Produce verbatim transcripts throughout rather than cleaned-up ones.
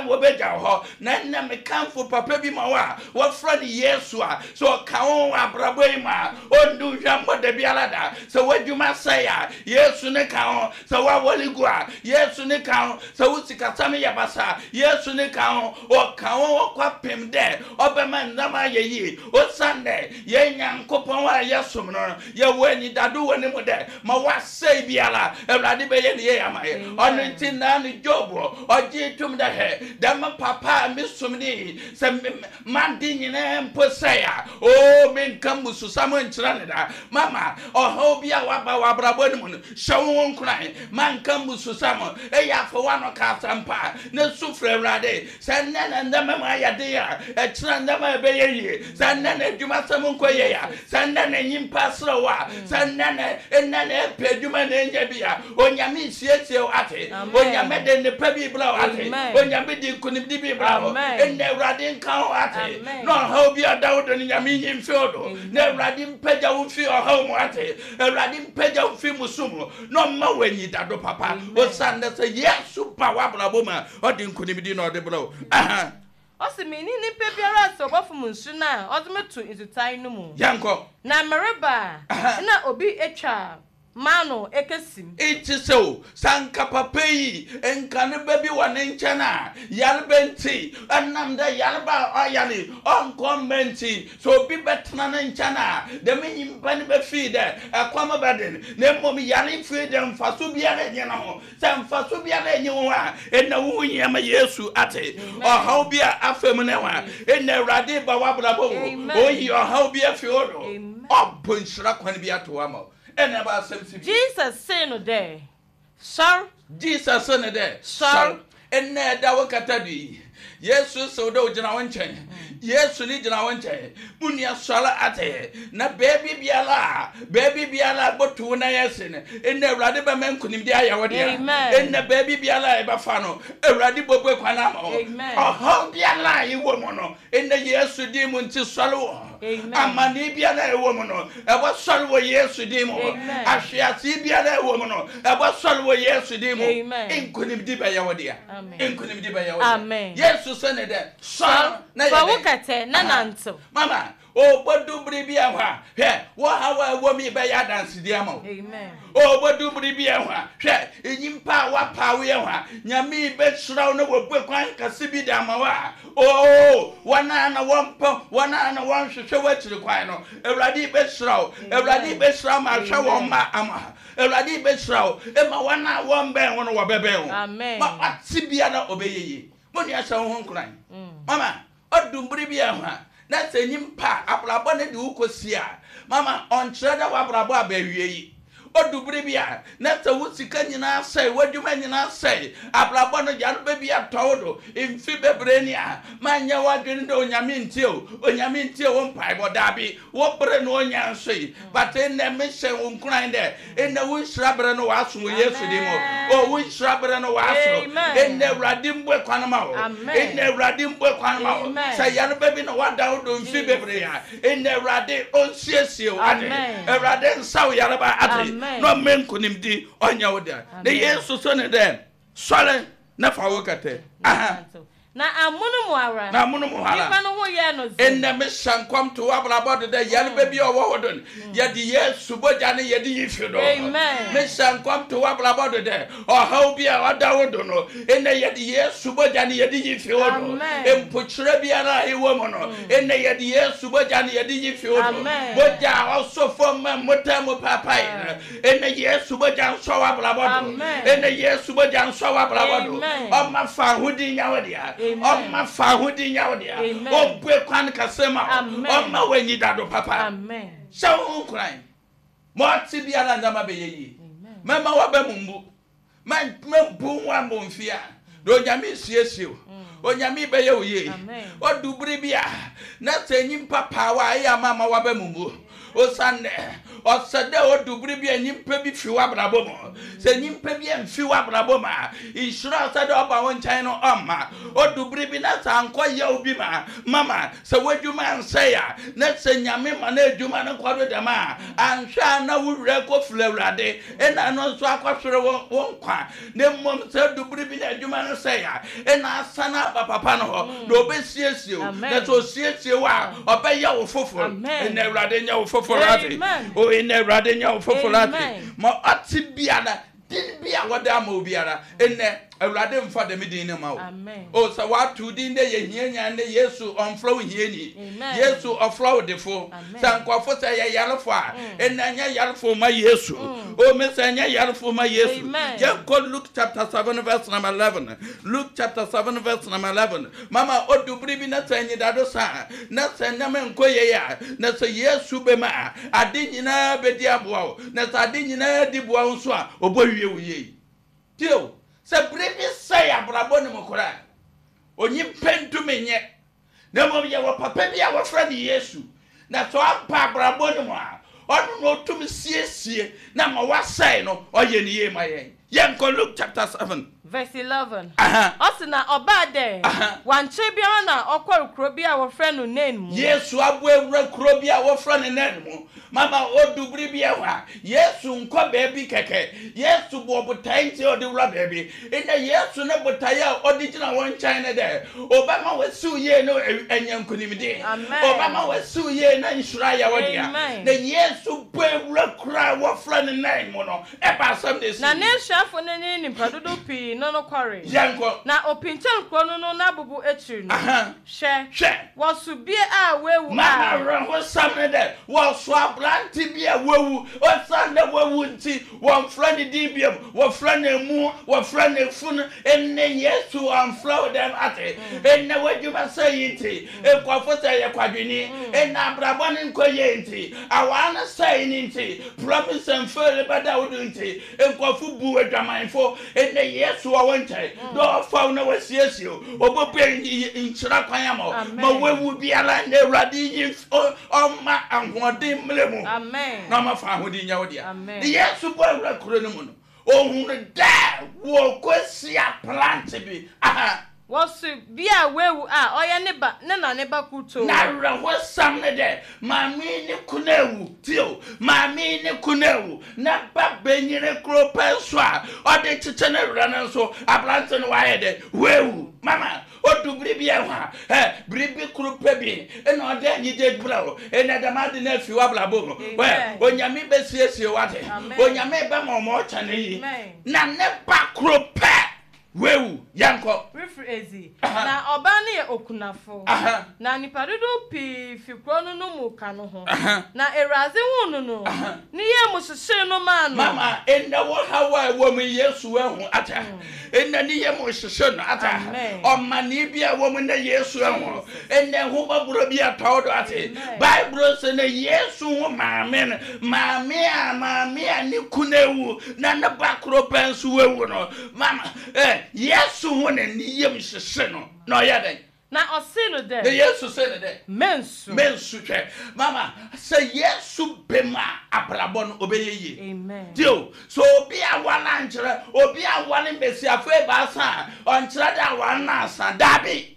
Wɔbɛgya wo hɔ. Na ɛnnɛ mekamfo papa bi ma wo a wɔfrɛ no Yesu a sɛ ɔka wo abrabɔ yi mu a, ɔndu hwammɔ da biara da. Sɛ w'adwuma sɛe a, Yesu ne ka ho. Sɛ woawɔle gu a, Yesu ne ka ho. Sɛ wo sikasɛm yɛ basa, Yesu ne ka ho. Ɔka wo kɔpem dɛ ɔbɛma nnam ayɛ yie. Osiane dɛ yɛn Nyankopɔn a yɛsom no, yɛwɔ anidado wɔ ne mu dɛ ma wasɛe biara, Awurade bɛyɛ ne yie ama yɛ. Ɔno nti naa no Job ɔgye tom dɛ, hɛ, dɛm papa a mesom ne yi, sɛ made nyinaa mpo sɛe a, o, menka mmususam nkyerɛ ne da. Mama, ɔhaw bi a waba wɔ abrabɔ no mu no, hyɛ wo ho nkuran, manka mmususam. Ɛyɛ afɔ wano ka asɛmpa na su frɛ Awurade. Sɛ nnɛ na nneɛma mu ayɛ den a, ɛkyerɛ nneɛma a ɛbɛyɛ yie. Sɛ nnɛ na adwumasɛm nkɔ yie a, sɛ nnɛ na nyimpa serɛ wo a, sɛ nnɛ na nnɛ na ɛpɛ adwuma na ɛnya bi a, Onyame nsiesie wo ate. Onyame de nnepa bi brɛ wo ate. Onyame de nkonimdi bi brɛ wo. Nnɛ Awurade nka wo ate. Na ɔhaw bi a ɔda wo do no, Nyame nyi mfi wo do. Na Awurade mpagya wo mfi ɔhaw mu ate. Awurade mpagya wo mfi musu mu na ɔmma wo anyidado papa. Osiane dɛ sɛ Yesu ba w'abrabɔ mu a, ɔde nkonimdi na ɔde brɛ wo. Aha. Ɔsi, "Menni nipa biara sɛ ɔbɔfom nsu no a ɔde me to nsutae no mu. Yɛnkɔ. Na mereba a, na obi atwa m'ano ekesim." Nti sɛ o, sɛ anka papa yi nka ne ba bi wɔ ne nkyɛn a, yareba nti, ɛnam dɛ yareba a ɔyare ɔnkɔ mma nti, sɛ obi bɛtena ne nkyɛn a, dɛm nyimpa no bɛfii dɛ ɛkɔm bɛden, na mmom yare firi dɛ mfaso biara nyɛ ne ho. Sɛ mfaso biara nyɛ wo ho a, ɛnna wo ho hia ma Yesu ate. Ɔhaw bi a afa mu ne ho a, ɛnna Awurade ba w'abrabɔ mu, oyi ɔhaw bi afi hɔ do, ɔbɔ nhyira kwan bi ato ama wo. Ɛnna ɛba asɛm si bi. Jesus see no dɛ, "Sɔr." Jesus se ne dɛ, "Sɔr." Ɛnna ɛda wo kata do yi, Yesu sɛ wo dɛ ogyina wo nkyɛn. Yesu ne gyina wo nkyɛn. Mo nua, sɔre ate. Na beebi biara a beebi biara a bɔtu wo nan ase no, ɛnna Awurade bɛma nkonimdi ayɛ wo dea. Ɛnna beebi biara a ɛbɛfa no, Awurade bɔbue kwan ama wo. Ɔhaw biara a ɛwɔ mu no, ɛnna Yesu din mu nti sɔre wɔ. Amane biara a ɛwɔ mu no, ɛbɔ sɔre wɔ Yesu din mu. Ahwease biara a ɛwɔ mu no, ɛbɔ sɔre wɔ Yesu din mu. Nkonimdi bɛyɛ wo dea. Nkonimdi bɛyɛ wo dea. Yesu sɛ ne dɛ, sɔre na yɛ "Fa wo kɛtɛ na nantew." Mama, ɔbɛdu bere bi ɛhɔ a, hwɛ, wɔhaw a ɛwɔ mi bɛyɛ adansedie ama wo. Ɔbɛdu bere bi ɛhɔ a, hwɛ, nyimpa a wapa wo yɛ hɔ a, Nyame bɛhyira wo na wɔbue kwan kɛse bi de ama wo a, oo, wɔn a na wɔmpɛ, wɔn a na wɔnhwehwɛ w'akyiri kwan no, Awurade bɛhyira wo. Awurade bɛhyira ma ahwɛ wɔn mma ama. Awurade bɛhyira wo ma wɔn a wɔmbɛn wo no wɔbɛbɛn wo. Ma wate biara ɔbɛyɛ yie. Mo nua, hyɛ wo ho nkuran. Mama, ɔdu bere bi ɛho a, na sɛ nyimpa abrabɔ ne de wo kɔsi a, mama, ɔnkyerɛ dɛ w'abrabɔ aba awie yi. Ɔdu bere bi a, na sɛ wo sika nyinaa sɛe, w'adwuma nyinaa sɛe, abrabɔ no yareba bi atɔ wo do mfi bebree ni a, manyɛ w'adwene dɛ Onyame ntie o, Onyame ntie wo mpaebɔ. Daabi, wo bere no onya nso yi. But ɛnnɛ mehyɛ wo nkuran dɛ ɛnnɛ wo nhyira bere no w'aso wɔ Yesu din mu. O, wo nhyira bere no w'aso. Ɛnnɛ Awurade mbue kwan ma wo. Ɛnnɛ Awurade mbue kwan ma wo. Sɛ yareba bi na wada wo do mfi bebree a, ɛnnɛ Awurade ɔnsiesie wo ade. Awurade nsa wo yareba ate na ɔmmɛ nkonimdi ɔnyɛ wo dɛ. Na Yesu so ne dɛ, sɔre na fa wo kɛtɛ. Aha. Na amono mu ara, Na amono mu ara, nipa no ho yɛɛ no dzen. Ɛnnɛ mehyɛ nkɔm to w'abrabɔ do dɛ yareba bi a ɔwɔ hɔ do no, yɛde Yesu bɔgya ne yɛde yi fi do. Mehyɛ nkɔm to w'abrabɔ do dɛ ɔhaw bi a ɔda wo do no, ɛnnɛ yɛde Yesu bɔgya ne yɛde yi fi wo do. Mpokyerɛ biara a ɛwɔ mu no, ɛnnɛ yɛde Yesu bɔgya ne yɛde yi fi wo do. Bɔgya a ɔsɔ fam ma mmotan mu paapae no, ɛnnɛ Yesu bɔgya nsɔ w'abrabɔ do. Ɛnnɛ Yesu bɔgya nsɔ w'abrabɔ do. Ɔma fa ahodin nya wo dea. Ɔma fa ahodin nya wo dea. Ɔbue kwan kɛse ma wo. Ɔma w'anyi dado papa. Hyɛ wo ho nkuran. Ma ɔte biara nneɛma bɛyɛ yie. Mɛma w'aba mu mbu. Mɛmbu ho abɔmfia. Na Onyame siesie wo. Onyame bɛyɛ wo yie. Ɔdu bere bi a, na sɛ nyimpa paa wo a, ɛyɛ ama ama w'aba mu mbu. Osiane ɔsɛ dɛ ɔdu bere bi a nyimpa bi fi w'abrabɔ mu. Sɛ nyimpa bi amfi w'abrabɔ mu a, nhyira a ɔsɛ dɛ ɔba wo nkyɛn no ɔmma. Ɔdu bere bi na sɛ ankɔ yaw bi ma mama sɛ w'adwuma ansɛe a, na sɛ Nyame ma no adwuma no kɔ do dɛm a, anhwɛ a na wo werɛ kɔfiri Awurade, ɛna no nso akɔhwere wo wo nkwa. Na mmom sɛ ɔdu bere bi na adwuma no sɛe a, ɛna asane aba papa no hɔ na ɔbɛsiesie wo. Na sɛ ɔsiesie wo a, ɔbɛyɛ wo foforɔ. Ɛna Awurade nyɛ wo foforɔ ate. O, ɛna Awurade nyɛ wo foforɔ ate. Ma ɔte biara, din bi a wɔde ama obiara, ɛnɛ Awurade mfa dɛm din no ma wo. O, sɛ wato din dɛ yɛ hianya ne Yesu ɔmfrɛ wo hiani. Yesu ɔfrɛ wo defo. Sɛ nkɔfo sɛ yɛ yarefo a, ɛnɛ nyɛ yarefo ma Yesu. O, me sɛ nyɛ yarefo ma Yesu. Yɛnkɔ Luke chapter seven verse number eleven. Luke chapter seven verse number eleven. Mama odu bere bi na sɛ nyidado sa, na sɛ nneɛma nkɔ yie a, na sɛ Yesu bɛma a, ade nyinaa bɛdi aboa wo. Na sɛ ade nyinaa di boa wo nso a, ɔbɔ wie wo yie. Tio, sɛ bere bi sɛe abrabɔ ne mu koraa, onyimpa ntumi nyɛ. Na mmom yɛwɔ papa bi a wɔfrɛ no Yesu. Na sɛ ɔba abrabɔ no mu a, ɔno na ɔtumi siesie na ma wasɛe no, ɔyɛ ne yie ma yɛn. Yɛnkɔ Luke chapter seven. Verse eleven. Aha. Ɔsi na ɔbaa dɛ, Aha. wankyerɛ biara na ɔkɔr kuro bi a wɔfrɛ no Nain mu. Yesu abo ewura kuro bi a wɔfrɛ no Nain mu. Mama odu bere bi ɛhɔ a, Yesu nkɔ baabi kɛkɛ. Yesu bɔ botae nti a ɔde wura baabi. Ɛnna Yesu ne botae a ɔde gyina wɔn nkyɛn ne dɛ, ɔbɛma wasiw yie no anya nkonimdi. Amen. Ɔbɛma wasiw yie na nhyira yɛ wɔ dea. Amen. Na Yesu bɔ ewura kuro a wɔfrɛ no Nain mu no, ɛba asɛm na esi. Na n'esuafo no ne nnipa dodow pii no no kɔree. Yɛnkɔ. Na opinkyɛn kuro no no n'abobo akyiri no, Aha. hwɛ, Hwɛ. wɔso bie a wawu Mama a awerɛhosɛm ne dɛ, wɔso aberante bi a wawu. Ɔsan dɛ wawu nti, wɔmfrɛ ne din biom, wɔfrɛ no emu, wɔfrɛ no efunu. Ɛnnɛ Yesu ɔmfrɛ wo dɛm ate. Ɛnnɛ w'adwuma sɛ yi nti, nkɔfo sɛ yɛ kwadwini. Ɛnnɛ abrabɔ ne nkɔ yie nti, awaa no sɛe ne nti, promise and fail bɛda wo do nti, nkɔfo bu adwamanfo. Ɛnnɛ Yesu wɔ wo nkyɛn, dɛ ɔfa wo na wasiesie wo. Ɔbɛbue nhyira kwan ama wo. Amen. Ma wawu biara na Awurade yi ɔma ahoɔden mmerɛ mu. Amen. Na ɔma fa ahoɔden nyɛ wo dea. Amen. Na Yesu bɔ awura kuro no mu no, ohunu dɛ wɔkɔsi aberante bi. Aha. Wɔso bie a wawu a ɔyɛ ne ba ne na ne ba kutoo. Na awerɛhosɛm ne dɛ, maame ne kunu awu. Tio, maame ne kunu awu. Na ba bɛnyini kuro pɛ nso a, ɔde kyekyɛ ne werɛ no nso, aberante no wayɛ dɛ, wawu. Mama, odu bere bi ɛhɔ a, ɛ, biribi koro pɛ bi, ɛna ɔde anigye brɛ wo. Ɛna dɛm ade no afi w'abrabɔ mu. Ɛ, Amen. Onyame bɛsiesie w'ade. Amen. Onyame bɛma ɔma ɔkyɛ ne yi. Amen. Na ne ba koro pɛ, wawu. Yɛnkɔ. Refiri ezi. Aha. Na ɔbaa no yɛ okunafo. Aha. Na nnipa dodow pii fi kuro no no mu ka no ho. Aha. Na Awurade huu no no, Aha. ne yam hyehyee no maa no. Mama, ɛnɛ wɔ haw a ɛwɔ mu Yesu ahu ata. Ɛnɛ ne yam hyehyɛ no ata. Amen. Ɔmane bi a ɛwɔ mu na Yesu ahu. Ɛnɛ ho bi atɔ do ate. Amen. Bible sɛ na Yesu ho maame no, maame a maame a ne kunu awu na ne ba koro pɛ nso wawu no. Mama, ɛ, Yesu ho ne ne yam hyehyɛ no. Na ɔyɛ dɛn? Na ɔsee no Na dɛ, Yesu sɛ ne dɛ. mensu. Mensu hwɛ. Mama, sɛ Yesu bɛma abrabɔ no ɔbɛyɛ yie. Amen. Tio, so obi awale ankyerɛ, obi awale mbesiafo ebaasa a, ɔnkyerɛ dɛ awale no asa, daabi.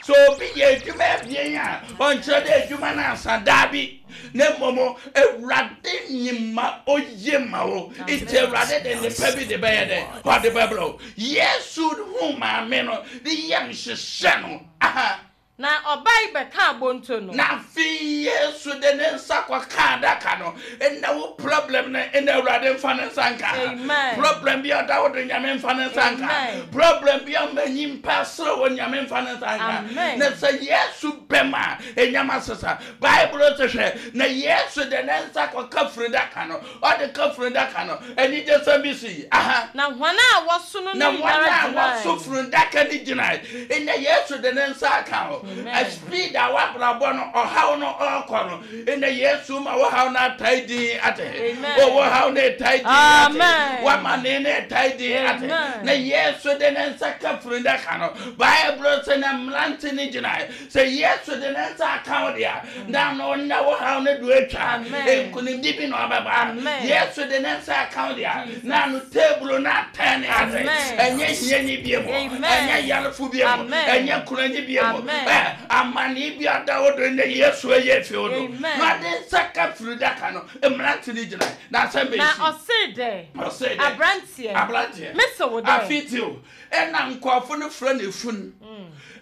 So obi yɛ adwuma abien a, ɔnkyerɛ dɛ adwuma no asa, daabi. Na mmom, Awurade nim ma oye ma wo. Nti Awurade de nipa bi de bɛyɛ dɛ, ɔde bɛbrɛ wo. Yesu hu maame no, ne yam hyehyɛ no. Aha. Na ɔbaa yi bɛkaa bonto no. Na afei Yesu de ne nsa kɔka adaka no. Ɛnna wo problem no, ɛnna Awurade mfa ne nsa nka. Amen. Problem bi a ɔda wo do, Nyame mfa ne nsa nka. Amen. Problem bi a ɔma nyimpa sere wɔ, Nyame mfa ne nsa nka. Amen. Na sɛ Yesu bɛm a, ɛnyama sesa. Bible sɛ hwɛ, na Yesu de ne nsa kɔka funudaka no. Ɔde ka funudaka no, anigye sɛm bi si. Aha. Na hɔn a wɔso no Na no wɔn nyinara a wɔso gyinae. funudaka no gyinae. Ɛnna Yesu de ne nsa aka ho. A speed a wabrabɔ no ɔhaw no ɔrekɔ no ɛnɛ Yesu ma wɔhaw no atae din ate. O wɔhaw no ɛtae din ate. Wama ne no ɛtae din ate. Na Yesu de ne nsa ka funu daka no. Bible sɛ na mmerante no gyinae sɛ Yesu de ne nsa aka wo deɛ na no na wɔhaw no do atwa. Nkonimdi bi na ɔbɛba. Yesu de ne nsa aka wo deɛ na no table no atɛn ate. Ɛnyɛ hiani bie mu. Ɛnyɛ yarefo bie mu. Ɛnyɛ kunani bie mu. Amane bi ada wo do ne Yesu ɛyɛ fi wo do. Na de nsa ka funu daka no mmerante no gyina na asɛm bɛsi. Na ɔse dɛ. Ɔse dɛ. Aberanteɛ. Aberanteɛ. Mese wo dɛ. Afiti ɛna nkurɔfo no frɛ no efun.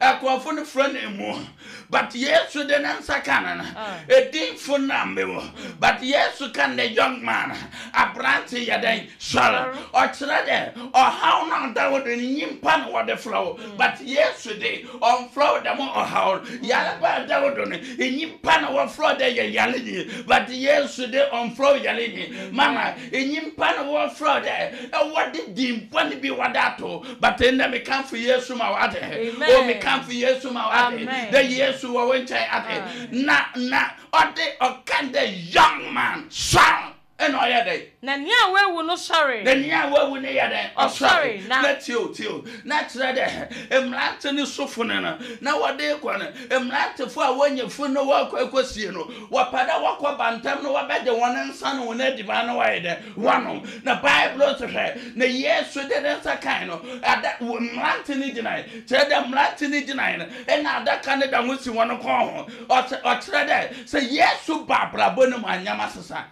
Nkurɔfo no frɛ no emu. But Yesu de ne nsa ka no no. Edin fun na mmewo. But Yesu ka ne young man. Aberante yɛ dɛn sɔre. Ɔkyerɛ dɛ ɔhaw na ɔda wo do ne nyimpa na wɔde frɛ wo. But Yesu de ɔmfrɛ wo dɛm ɔhaw. Yareba da wo do no nyimpa na wɔfrɛ dɛ yɛ yarenyi. But Yesu de ɔmfrɛ wo yarenyi. Mama nyimpa na wɔfrɛ dɛ ɛwɔ de din bɔne bi wɔde ato. But ɛnnɛ mekamfo Yesu ma wate. O mekamfo Yesu ma wate. Dɛ Yesu wɔ wo nkyɛn ate. Na na ɔde ɔka dɛ young man sɔre. Ɛna ɔyɛ dɛ. Na nea wawu no sɔre. Na nea wawu no yɛ dɛ ɔsɔre. Na tio tio. Na kyerɛ dɛ mmerante ne sofo no no na wɔde kɔ no mmerantefo a wɔnyɛ fun no wɔkɔ akɔsie no wɔpɛ dɛ wɔkɔ bantam no wɔbɛgye wɔn nsa no wɔn adiban no wɔyɛ dɛ wɔnom. Na Bible so hwɛ na Yesu de ne nsa kan no ada mmerante no gyinae kyerɛ dɛ mmerante no gyinae no ɛna adaka no da ho si wɔn kɔn ho. Ɔkyerɛ dɛ sɛ Yesu ba abrabɔ no mu anyama sesa.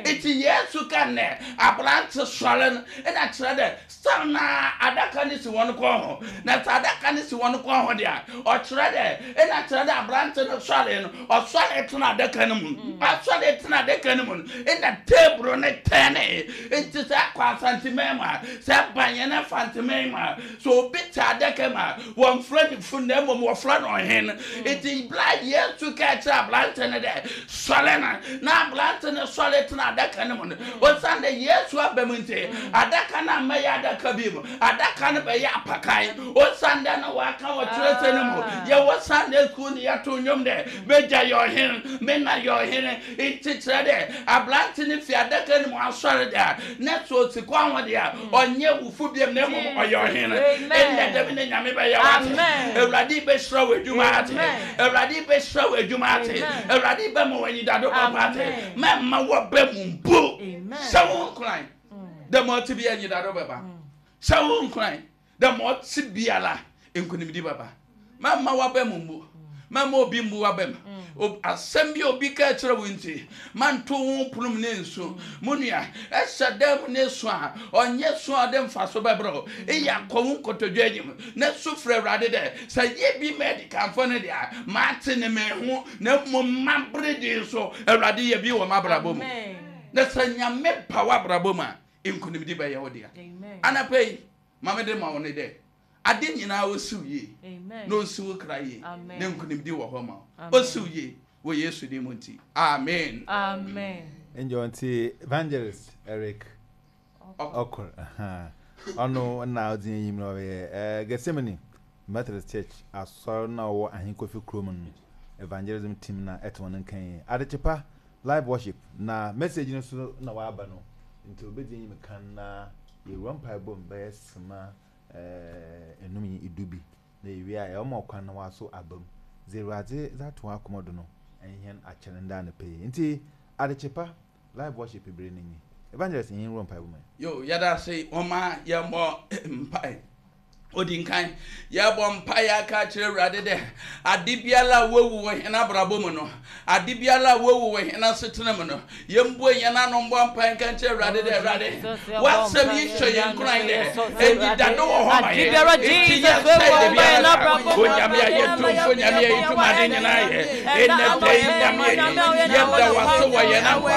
Iti Yesu ka ne aberante sɔre no ɛna kyerɛ dɛ sɛ na adaka no si wɔn kɔn ho. Na sɛ adaka no si wɔn kɔn ho deɛ ɔkyerɛ dɛ ɛna kyerɛ dɛ aberante no sɔre no ɔsɔre tena adaka no mu. Ɔsɔre tena adaka no mu no ɛna table no tɛne. Nti sɛ akɔ Asanteman mu a sɛ banyɛ ne Mfanteman mu a sɛ obi te adaka mu a wɔmfrɛ ne funu na mmom wɔfrɛ no ɔhen. Nti bla Yesu ka kyerɛ aberante no dɛ sɔre no na aberante no sɔre tena adaka no mu no osiane dɛ Yesu aba mu nti adaka no ammɛyɛ adaka bi mu. Adaka no bɛyɛ apakan. Osiane dɛ na waka wɔ kyerɛsɛ no mu yɛwɔ Sunday school ne yɛto nnwom dɛ megya yɛ ɔhen me na yɛ ɔhene. Nti kyerɛ dɛ aberante no fi adaka no mu asɔre dɛ na sɛ osi kwan ho deɛ ɔnyɛ wufo biam na mmom ɔyɛ ɔhene. Ɛnnɛ dɛm ne Nyame bɛyɛ wate. Awurade bɛhyira wo adwuma ate. Awurade bɛhyira wo adwuma ate. Awurade bɛma wo anyidado papa ate. Mɛmma wɔbɛ mu mpo. Hyɛ wo nkuran dɛ ma ɔte bi anyidado bɛba. Hyɛ wo nkuran dɛ ma ɔte biara nkonimdi bɛba. Mɛmma wɔbɛ mu mpo. Mɛmma obi mbu wabɛm. Asɛm bi obi ka kyerɛ wo nti manto wo pono mu ne nsu. Mo nua ɛhyɛ dan mu ne su a ɔnyɛ su a ɔde mfa so bɛbrɛ wo. Ɛyɛ akɔ wo nkotodwe anim na su frɛ Awurade dɛ sɛ yɛ bi ma adikanfo no deɛ a mate ne meho na mmom mabere din so Awurade yɛ bi wɔ m'abrabɔ mu. Na sɛ Nyame ba w'abrabɔ mu a nkonimdi bɛyɛ wo dea. Anapa yi ma mede ma wo ne dɛ ade nyinaa osiw yie na osiw kra yie na nkonimdi wɔ hɔ ma wo. Osiw yie wɔ Yesu din mu nti. Amen. Amen. Enjo nti Evangelist Eric Okor. Ɔno na ɔdzi enyim na ɔyɛ Gethsemane Methodist Church asɔr na ɔwɔ Ahenkofi kurom no evangelism team na ɛte wɔn nkan. Adekyepa live worship na message no so na waba no nti obedzi enyim kan na yɛwura mpaebɔ mu bɛyɛ sema enum yi idu bi na yɛwie a ɛwɔ kwan na waso aba mu dze Awurade dze ato akoma do no ɛnyɛn akyɛn nda anɔpa yi nti Adekyepa live worship bere no nyi. Evangelist yɛn wura mpaebɔ mu. Yo yɛda ase wɔma yɛmmɔ mpae. Odi nkan yɛbɔ mpae aka kyerɛ Awurade dɛ ade biara a wawu wɔ hɛn abrabɔ mu no ade biara a wawu wɔ hɛn asetena mu no yɛmbue yɛn ano mbɔ mpae nka nkyerɛ Awurade dɛ Awurade wasɛm yi hyɛ yɛn nkuran dɛ enyidado wɔ hɔ ma yɛn nti yɛsɛe de biara da Onyame a yɛtumfo Nyame a yɛtum ade nyinaa yɛ ɛnnɛ da yi Nyame yi yɛda wase wɔ yɛn akwa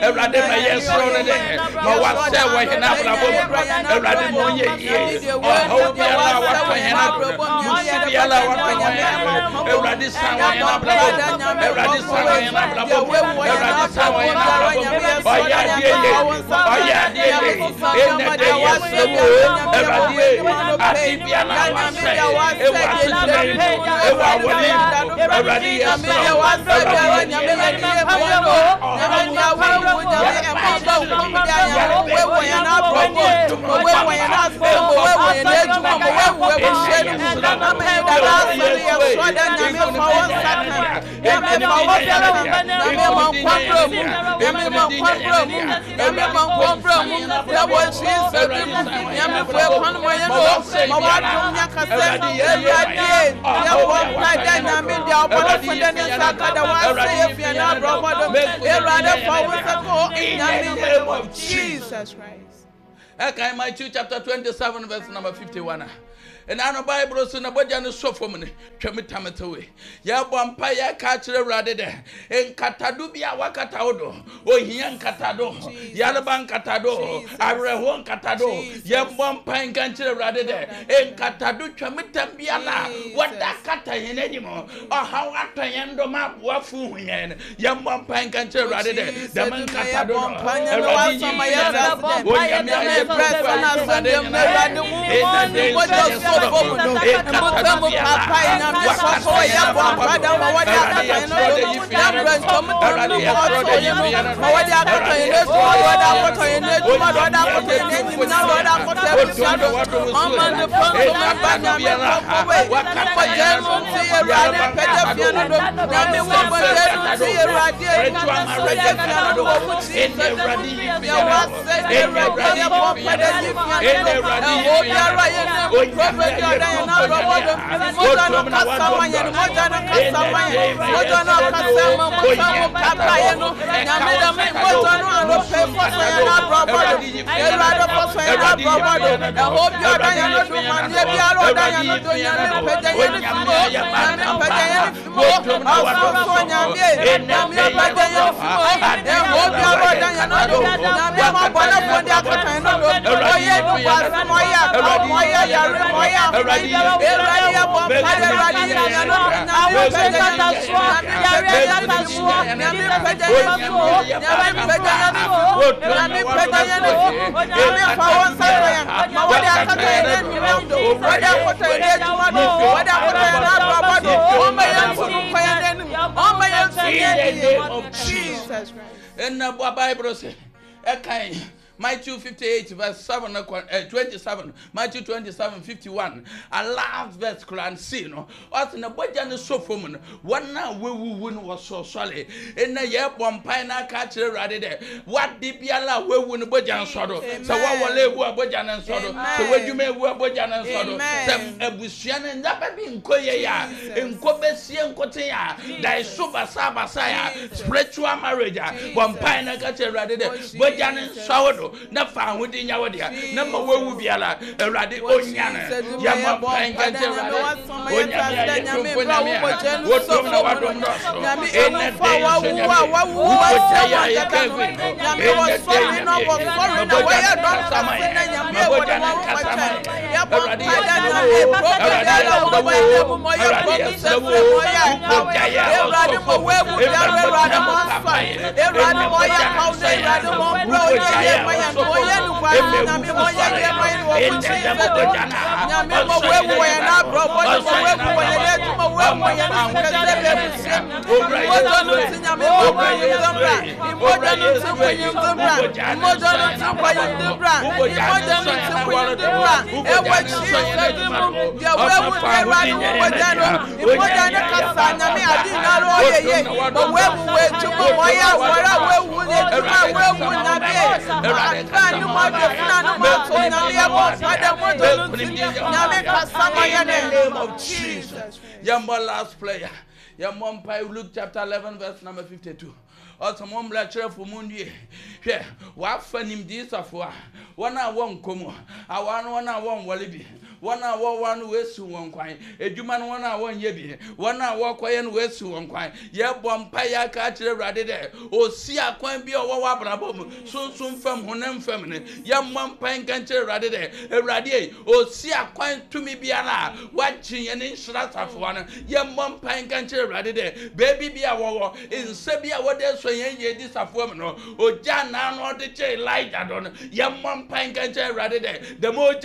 Awurade ma yɛsrɛ no dɛ ma wasɛe wɔ hɛn abrabɔ mu Awurade ma ɔnyɛ yie ɔhaw biara biara watɔ yɛn ado musu biara watɔ yɛn ado Awurade san wɔ yɛn abrabɔ mu Awurade san wɔ yɛn abrabɔ mu Awurade san wɔ yɛn abrabɔ mu ɔyɛ adeɛ yɛ ɔyɛ adeɛ yɛ ɛnɛ de yɛ sɛ wo Awurade ade biara wasɛ ɛwɔ asetena yi mu ɛwɔ awɔle yi mu Awurade yɛ sɛ wo Awurade yɛ In the name of Jesus Christ. Okay, Matthew chapter twenty-seven, verse number fifty-one. And I know Bible so na boja no so fam ne twam tametewe ye bɔ mpa ye ka kyerɛ Awurade de nkatado bi a wakata wo do ohia nkatado yareba nkatado awerɛho nkatado ye bɔ mpa nka kyerɛ Awurade de nkatado twam tam bia na wada kata yɛn anim ɔhaw atɔ yɛn do ma aboafo hu yɛn ye bɔ mpa nka kyerɛ Awurade de dɛm nkatado no Awurade yi onyame ayɛ In the name of Jesus Christ. And the Bible says, Matthew fifty-eight verse seven, uh, twenty-seven, Matthew twenty-seven, fifty-one. A last verse, Quran see no. Us in the budget so from one now we win was so sorry. In the year one pine catch ready there. What did Biala we win budget sorrow? So what will they were budget and sorrow? So what you may wear budget and sorrow? Some Abusian and never been Koya in Kobe Sian Kotea. There is super sabasaya spiritual marriage. One pine catch ready there. Budget and sorrow. Na fa ahodi nya wo dia na ma wawu biara Awurade onya ne ya ma pan ka kyerɛ Awurade onya ne ya tumfo nyame a wotom na wadom no so ene de so nyame wo ya ya ka gwe ene de nyame na wo ya don sama ya wo ya kasama Awurade ya Awurade ya Awurade ya wo ya Awurade mo wawu biara Awurade mo fa Awurade mo ya ka Awurade mo bro In the name of Jesus. Your last prayer. Your mom pray Luke chapter eleven verse number fifty-two. Ɔsɛ mo mmarakyerɛfo mu nnue. Hwɛ, wafa nimdiisafo a wɔn a wɔnkɔ mu aware no, wɔn a wɔnwɔle bi, wɔn a wɔware no wɔasi wɔn kwan, edwuma no wɔn a wɔnyɛ bi, wɔn a wɔkɔyɛ no wɔasi wɔn kwan. Yɛbɔ mpa yɛ aka akyerɛ Awurade dɛ osi akwan bi a ɔwɔ wɔ abrabɔ mu, sunsun fam, honam fam no. Yɛmmɔ mpa nka nkyerɛ Awurade dɛ, Awurade yi, osi akwan tumi biara a wagye yɛn ne nhyira safoa no. Yɛmmɔ mpa nka nkyerɛ Awurade dɛ beebi bi a wɔwɔ nsa bi a wɔde asɔ yɛn yie di safoa mu no, ogya nan no ɔde gye Elijah do no. Yɛmmɔ mpa nka nkyerɛ Awurade dɛ dɛm ogya